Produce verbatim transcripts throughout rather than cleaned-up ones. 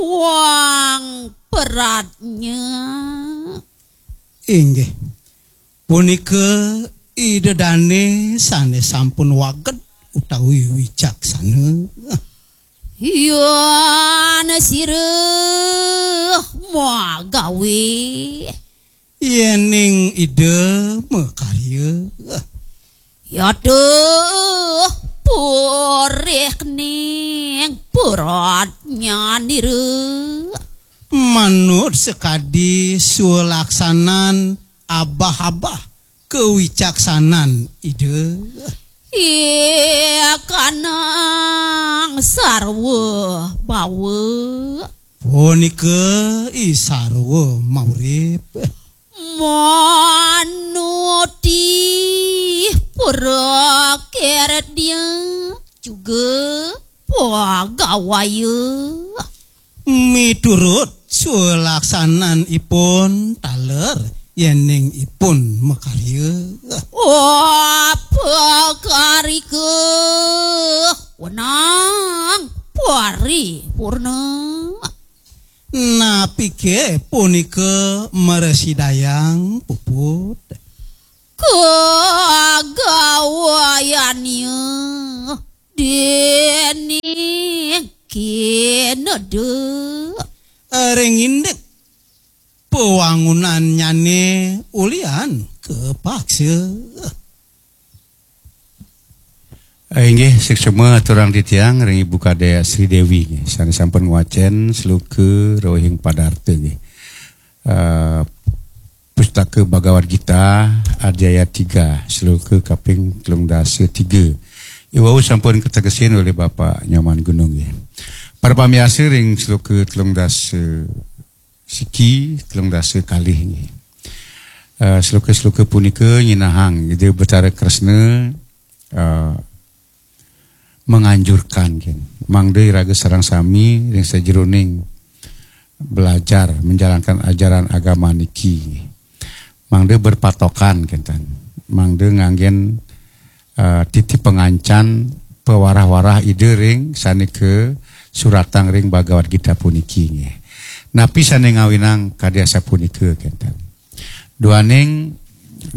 Wang peratnya. Inggih. Punika Ida Dane sane sampun waged utawi wicaksana. Yan sira magawe. Yening Ida makarya. Yatuh purih kening pratnyanira. Manut sekadi suwalaksanan abah-abah kewicaksanan Ida. Ikanang sarwa bawa. Punika i sarwa maurip. Manuti prakirdia juga pagawaya. Miturut suwalaksanan ipun taler yening ipun makarya. Apa karika wenang paripurna. Napike punika mrasidayang puput? Kagawayannya dening kineda. Ring indik pawangunannyane ulian kapaksa. Eh, inggih, suksma aturang titiang ring Ibu Kadek Sri Dewi, nggih, sane sampun ngwacen sloka rawuhing padarta, nggih. Eh, Pustaka Bhagavad Gita, Adhyaya tiga, sloka kaping telung dasa tiga. Iwau sampun kategesin oleh Bapak Nyoman Gunung, nggih. Para pamiarsa, ring sloka telung dasa siki, telung dasa kalih, nggih. Eh, sloka-sloka punika nyinahang Ida Betara Kresna, eh, menganjurkan, nggih, mangda iraga sareng sami ring sajeroning belajar menjalankan ajaran agama niki, nggih, mangda berpatokan, kenten, mangda nganggen, eh, titi pangancan pawarah-warah Ida ring sane kasuratang ring Bhagavad Gita puniki, nggih. Napi sane ngawinang kadi asapunika, kenten? Duaning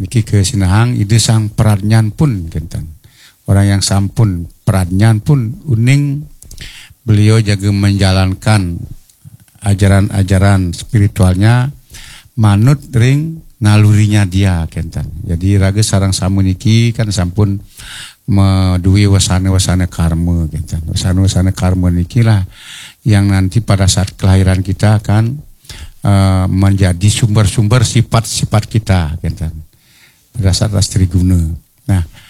niki kasinahang Ida Sang Pradnyan pun, kenten. Orang yang sampun pradnyan pun uning beliau jaga menjalankan ajaran-ajaran spiritualnya manut ring nalurinya dia, kenten. Jadi raga sareng sami niki kan sampun maduwe wasana-wasana karma, kenten. Wasana-wasana karma nikilah yang nanti pada saat kelahiran kita akan, eh, menjadi sumber-sumber sifat-sifat kita, kenten. Pada saat rasa triguna. Nah,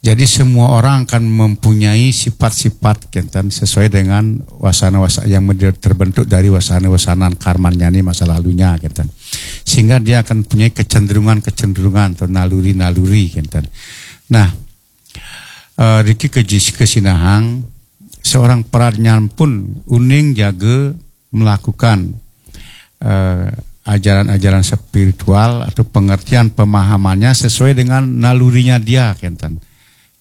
jadi semua orang akan mempunyai sifat-sifat, kenten, sesuai dengan wasana-wasa yang menjadi terbentuk dari wasana-wasana karmanya ini masa lalunya, kenten. Sehingga dia akan punya kecenderungan-kecenderungan atau naluri-naluri, kenten. Nah, eh, riki kejis kesinahang seorang pradnyan pun uning jaga melakukan, eh, ajaran-ajaran spiritual atau pengertian pemahamannya sesuai dengan nalurinya dia, kenten.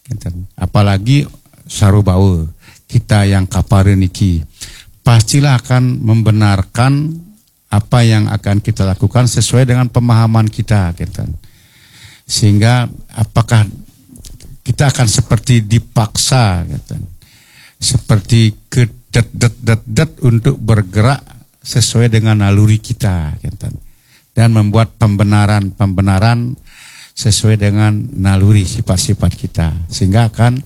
Kenten. Apalagi sarubawa kita yang kapara niki pastilah akan membenarkan apa yang akan kita lakukan sesuai dengan pemahaman kita, kenten. Sehingga apakah kita akan seperti dipaksa, kenten, seperti kedet-det-det-det untuk bergerak sesuai dengan naluri kita, kenten, dan membuat pembenaran-pembenaran sesuai dengan naluri sifat-sifat kita, sehingga akan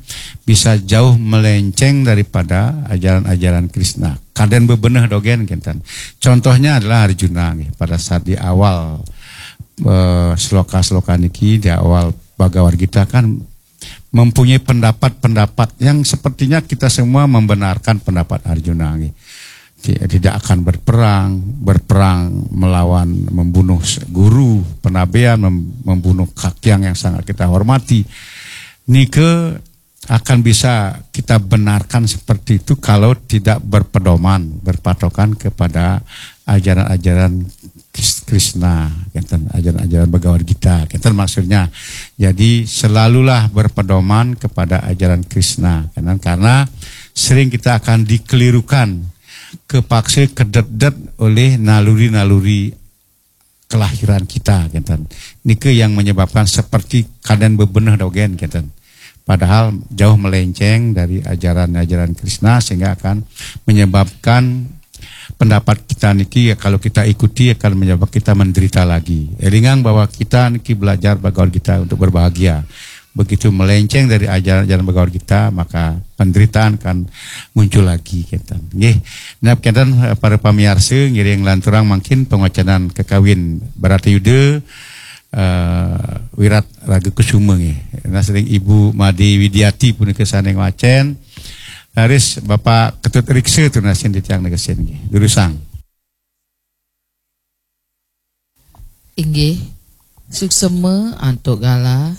bisa jauh melenceng daripada ajaran-ajaran Krishna. Kaden bebeneh dogen, kenten. Contohnya adalah Arjuna, nggih, pada saat di awal, eh, sloka-sloka niki, di awal Bhagavad Gita kan mempunyai pendapat-pendapat yang sepertinya kita semua membenarkan pendapat Arjuna, nggih. Ti-, tidak akan berperang, berperang melawan, membunuh se-, guru, penabean, mem-, membunuh kakyang yang sangat kita hormati. Nika akan bisa kita benarkan seperti itu kalau tidak berpedoman, berpatokan kepada ajaran-ajaran Kris-, Krishna, kenten, ajaran-ajaran Bhagavad Gita, kenten maksudnya. Jadi selalulah berpedoman kepada ajaran Krishna, kenten, karena sering kita akan dikelirukan kepaksa kedet-det oleh naluri-naluri kelahiran kita, kenten. Nika yang menyebabkan seperti kaden bebenah dogen, kenten. Padahal jauh melenceng dari ajaran-ajaran Krishna, sehingga akan menyebabkan pendapat kita niki, ya, kalau kita ikuti, akan menyebabkan kita menderita lagi. Elingang bahwa kita niki belajar Bhagavad Gita untuk berbahagia. Begitu melenceng dari ajaran-ajaran Bhagavad Gita, maka penderitaan akan muncul lagi, kenten. Nggih, nap kenten, eh, para pamiarsa, ngiring lanturang mangkin pengacanan kakawin Baratayuda, eh, Wirat Raga Kusuma, nggih. Nah, sering Ibu Made Widiati punika sane ngwacen. Raris Bapak Ketut Riksa tunasin titiang negesin, nggih. Durusang. Inggih, suksema antuk galah